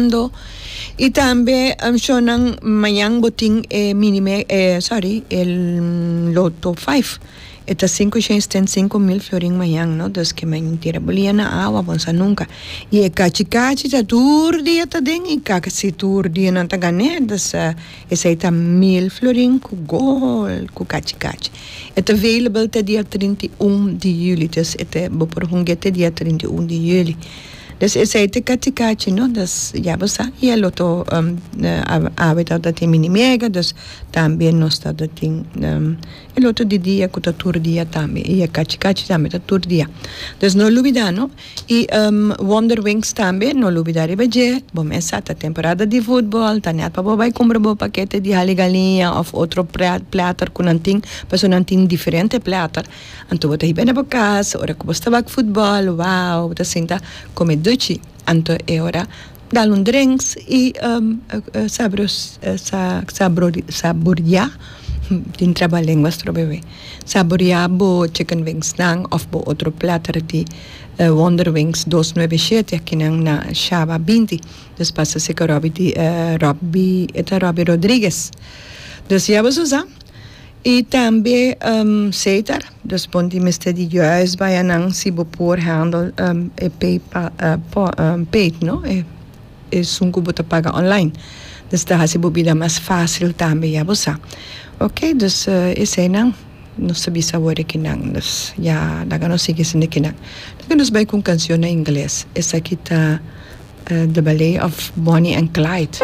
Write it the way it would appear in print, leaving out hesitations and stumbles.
ganando. Y tambe shownan mañan bo tin e mini me e sorry e loto five e ta sinku shen sten sinku mil florin mañan no dus ke men tira bo lia na awa bo no sa nunka y e kachi kachi ta tur dia ta den y casi tur dia nan ta gane dus esey ta mil florin ku gol ku kachi kachi e ta available te dia 31 di juli dus e ta bo por hunga te dia 31 di juli. Dus esei ta kachi kachi no, dus ya bo sa y el otro awe tabata tin mini mega, dus tambe nos tabata tin el otro di dia cu ta tur dia tambe y e kachi kachi tambe ta tur dia. Dus no lubida no y Wonder Wings tambe no lubida riba dje, bo mes sa ta temporada di futbol ta net pa bo bay cumpra bo pakete di hali galiña of otro platter cu nan tin, pasobra nan tin diferente platter. Anto bo ta hiba na bo kas, ora ku bo sta wak futbòl, wou, bo ta sinta kome duchi. Anto e ora dal un drinks i saboriá, tin trabalenguas trobe wei, saboriá bo chicken wingsnan òf bo otro platter di Wonder Wings dos nuebe shete akinan na Shaba 20. Dus pasa seka Robby di Robby, e ta Robby Rodriguez. Dus ya bo sa. Y tambe Setar, dus bon di mester di juist bay anan si bo por handle e paypal paid no, esun cu bo ta paga online. Dus ta haci bo bida mas facil tambe ya bo sa. Ok, dus eseynan nos ta bisa awor ekinan, dus ya laga nos sigui esey ekinan. Laga nos bay cu un cancion na ingles, esaki ta The Ballet of Bonnie and Clyde.